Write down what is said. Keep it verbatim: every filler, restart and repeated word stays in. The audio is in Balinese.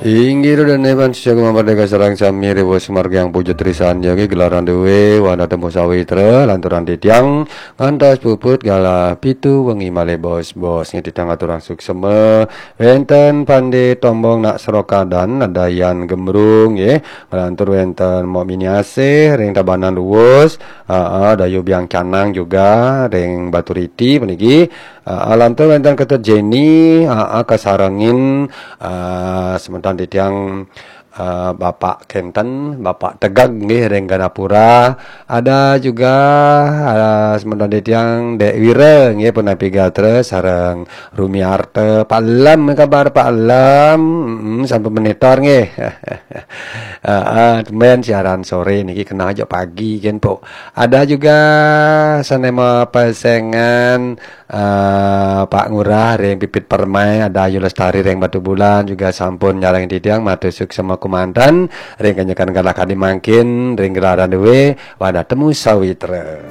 Inggih ro dene panjenengan mardika sareng sami riwus margiang puja trisan ya nggih gelaran duwe wanda temu sawitra lanturan titiang ngantos puput galah pitu wengi malih bos-bos nggih titiang aturang suksema wenten Pande Tombong nak Serokadan nadayan gembrung nggih nglantur wenten Mok Mini Asih ring Tabanan Luwus, aa, Dayu Biang Canang juga ring Baturiti puniki. Aa, lantur wenten Ketut Jenny, aa, kasarengin, aa, semeton titiang, aa, Bapak Kenten, Bapak Tegag nggih ring Ganapura. Ada juga, aa, semeton titiang Dek Wira nggih punapi gatra sareng Rumiarta. Pak Lam, kabar Pak Lam? Mm, sampun monitor nggih. Aa, tumben siaran sore niki kena aja pagi kan, Pok. Ada juga sane mapesengan, eh, Pak Ngurah ring Pipit Permai, ada Ayu Lestari ring Batubulan juga sampun nyarengin titiang matur suksema kumanten ring kenyekan galah kadi mangkin ring gelaran duwe wanda temu sawitra.